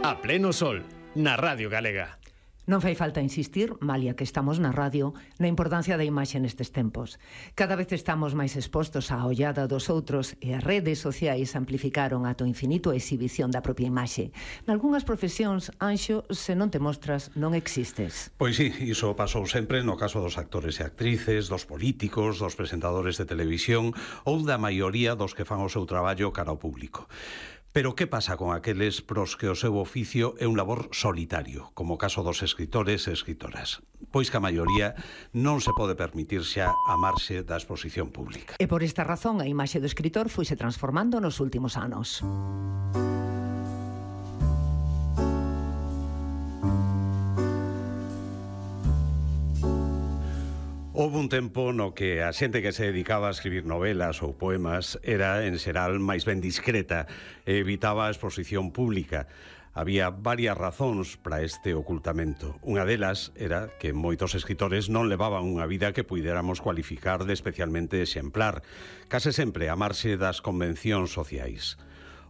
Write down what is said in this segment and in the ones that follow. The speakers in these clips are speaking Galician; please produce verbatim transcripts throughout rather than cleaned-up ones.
A pleno sol, na Radio Galega. Non fai falta insistir, malia que estamos na radio, na importancia da imaxe nestes tempos. Cada vez estamos máis expostos á ollada dos outros e as redes sociais amplificaron ata o infinito a exhibición da propia imaxe. Nalgúnas profesións, Anxo, se non te mostras, non existes. Pois sí, iso pasou sempre no caso dos actores e actrices, dos políticos, dos presentadores de televisión ou da maioría dos que fan o seu traballo cara ao público. Pero que pasa con aqueles pros que o seu oficio é un labor solitario, como o caso dos escritores e escritoras? Pois que a maioría non se pode permitir xa amarse da exposición pública. E por esta razón a imaxe do escritor foise transformando nos últimos anos. Houve un tempo no que a xente que se dedicaba a escribir novelas ou poemas era, en xeral, máis ben discreta e evitaba a exposición pública. Había varias razóns para este ocultamento. Unha delas era que moitos escritores non levaban unha vida que puidéramos cualificar de especialmente exemplar, case sempre a marxe das convencións sociais.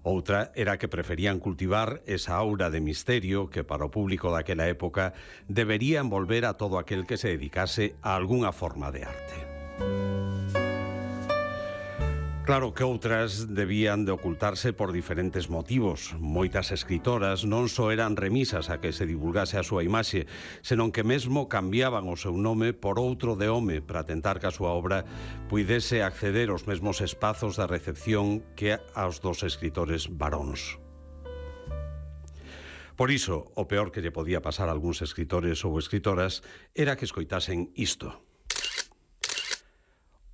Outra era que preferían cultivar esa aura de misterio que para o público daquela época debería envolver a todo aquel que se dedicase a algunha forma de arte. Claro que outras debían de ocultarse por diferentes motivos. Moitas escritoras non só eran remisas a que se divulgase a súa imaxe, senón que mesmo cambiaban o seu nome por outro de home para tentar que a súa obra puidese acceder aos mesmos espazos da recepción que aos dos escritores varóns. Por iso, o peor que lle podía pasar a algúns escritores ou escritoras era que escoitasen isto.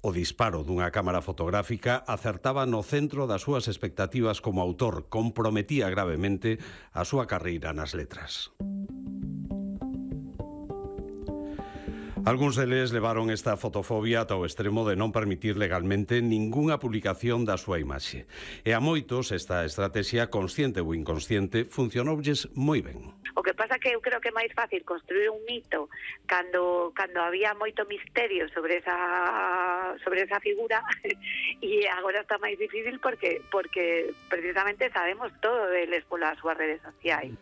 O disparo dunha cámara fotográfica acertaba no centro das súas expectativas como autor, comprometía gravemente a súa carreira nas letras. Algúns deles levaron esta fotofobia ata o extremo de non permitir legalmente ningunha publicación da súa imaxe. E a moitos esta estrategia, consciente ou inconsciente, funcionoulles moi ben. O que pasa que eu creo que é máis fácil construir un mito cando cando había moito misterio sobre esa sobre esa figura e agora está máis difícil porque porque precisamente sabemos todo deles polas súas redes sociais.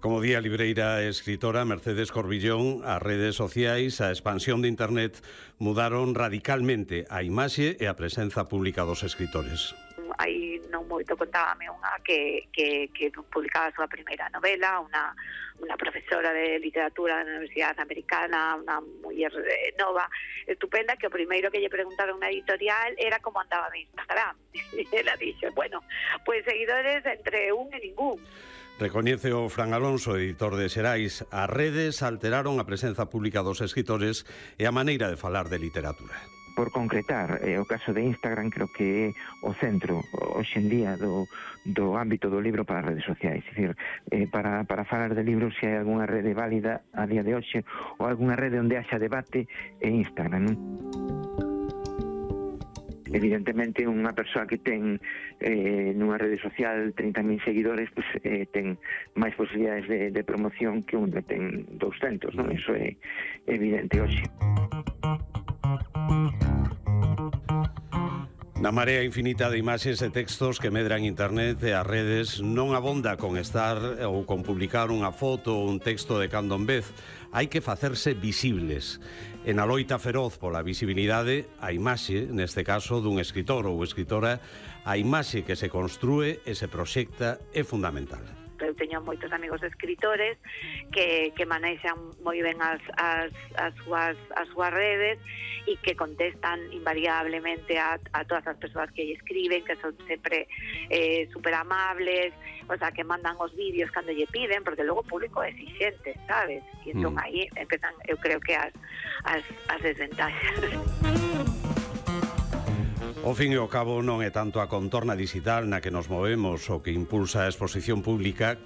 Como di a libreira e escritora Mercedes Corbillón, as redes sociais, a expansión de internet mudaron radicalmente a imaxe e a presenza pública dos escritores. Aí non moito contábame unha que, que, que publicaba a súa primeira novela, unha, unha profesora de literatura da Universidade Americana, unha muller nova, estupenda, que o primeiro que lle preguntaron na editorial era como andaba de Instagram. E ela dixo, bueno, pois seguidores entre un e ningún. Recoñece o Fran Alonso, editor de Xerais, as redes alteraron a presenza pública dos escritores e a maneira de falar de literatura. Por concretar, eh, o caso de Instagram creo que é o centro hoxe en día do, do ámbito do libro para as redes sociais. É dicir, eh, para, para falar de libros, se hai algunha rede válida a día de hoxe ou algunha rede onde haxa debate é Instagram, non? Evidentemente, unha persoa que ten eh, nunha rede social trinta mil seguidores, pues, eh, ten máis posibilidades de, de promoción que un que ten douscentos, non? Iso é evidente hoxe. Na marea infinita de imaxes e textos que medran internet e as redes non abonda con estar ou con publicar unha foto ou un texto de cando en vez. Hai que facerse visibles. En a loita feroz pola visibilidade, a imaxe, neste caso dun escritor ou escritora, a imaxe que se construe e se proxecta é fundamental. Eu teño moitos amigos escritores que, que manexan moi ben as, as, as, súas, as súas redes e que contestan invariablemente a, a todas as persoas que lle escriben, que son sempre eh, super amables, o sea, que mandan os vídeos cando lle piden, porque logo o público é exixente, sabes? E entón mm. aí empezan, eu creo que as, as, as desventaxas. Ao fin e ao cabo non é tanto a contorna digital na que nos movemos o que impulsa a exposición pública